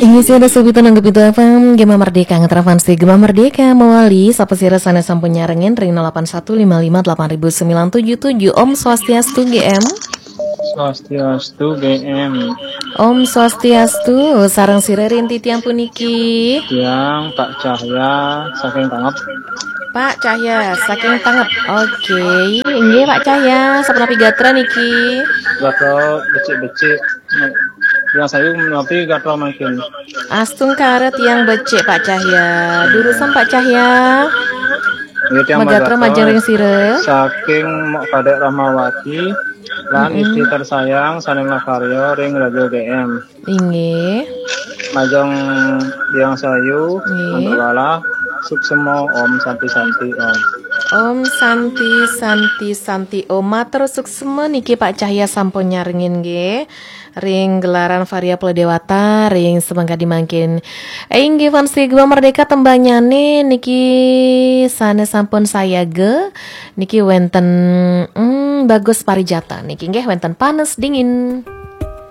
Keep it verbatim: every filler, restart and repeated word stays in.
Inggih, sira sugi tanggung Pitu F M, Gema Merdeka, ngeterapan si Gema Merdeka mawali, sapa sira sane sampun nyarengin ring nol delapan satu lima lima delapan ribu sembilan tujuh tujuh. Om Swastiastu, G M. Swastiastu, G M. Om Swastiastu, sareng sira ring titiang puniki. Tiang Pak Cahya saking Tangep. Pak Cahya saking Tangep. Oke, inggih Pak Cahya, sapunapi gatra niki? Gatra becik-becik. Tiang sayu menapi gatra mangkin. Astungkara tiang becik Pak Cahya. Durusang Pak Cahya. Nggih, tiang magatra majeng ring sira. Saking Mok Kadek Rahmawati lan Istri tersayang sane makarya ring Radio G M. Inggih. Majeng tiang sayu, nggih. Mantuk lala, suksema, Om Santi Santi Om. Om Santi Santi Santi Om. Matur suksema niki Pak Cahya sampun nyarengin nggih. Ring gelaran Varia Pula Dewata, ring semangkadi mangkin. Inggih, fans Gema Merdeka, tembanyane niki sane sampun sayaga. Niki wenten, hmm, Bagus Parijata. Niki nggih wenten Panes Dingin.